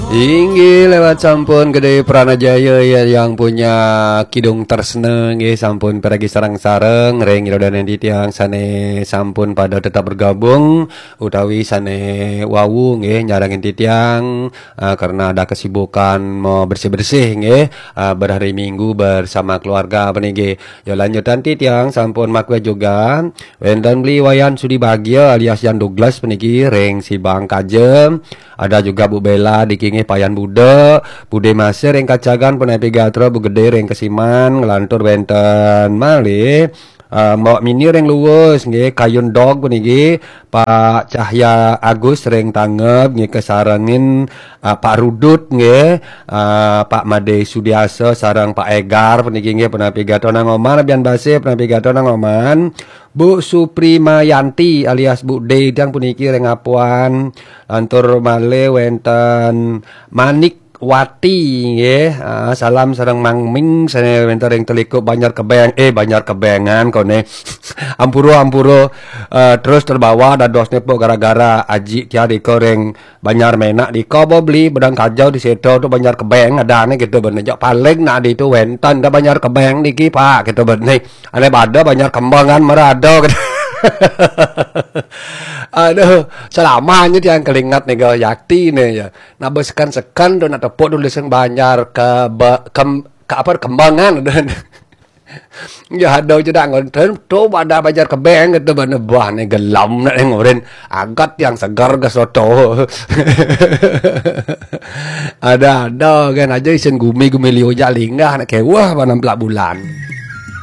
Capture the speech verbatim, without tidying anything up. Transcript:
Inggih lewat sampun Gede Pranajaya ya yang punya kidung tersne nggih sampun piragi sareng-sareng ring ida dané titiang sané sampun pada tetap bergabung utawi sané wau nggih nyarengin titiang ah, karena ada kesibukan mau bersih-bersih nggih ah, berhari Minggu bersama keluarga puniki. Ya lanjutan titiang sampun makwe juga wénten Beli Wayan Sudi Bagia alias Yan Douglas puniki ring Sibang Kajem. Ada juga Bu Bella di kingih Payan Buda, Bude Masih ring Kacagan, Penepi Gatra, Bu Gede ring Kesiman, ngelantur wénten malih. Uh, Mbok Mini ring Luwus nggih, Kayun Dog puniki, Pak Cahya Agus ring Tangeb nggih, kesarengin uh, Pak Rudut nggih, uh, Pak Made Sudiasa sareng Pak Egar puniki nggih, Penepi Gatra Nangoman, Bian Basih, Penepi Gatra Nangoman. Bu Suprimayanti alias Bu D tiang puniki ring Apuan. Lantur malih wénten Manik Wati nggih. Ah, salam sareng Mang Ming sané wénten ring Teliku Banjar Kebeng. Eh, Banjar Kebengan koné. Ampura, ampura. Eh, terus terbawa dadosné pok gara-gara aji tiang dika ring Banjar Menak dika ba Beli bedang kajau di situ tu Banjar Kebeng adané gitu bener. Jak paling nak di tu wénten dah Banjar Kebeng niki Pak gitu bener. Ané pada Banjar Kembangan marada gitu. Aduh, selamanya tiang kelingat nih gal yakti nih ya. Nak besekan-sekan tu nak tepuk dulu sing Banjar ke, be, kem, ke apa Kembangan. Ya ada je dah ngonten tu pada Banjar Kebeng gitu bener bah nih gelam nak ngorin agat yang segar ke soto. Ada-ada kan aja isin gumi-gumi liu jak linggah nak kewah panam pelak bulan.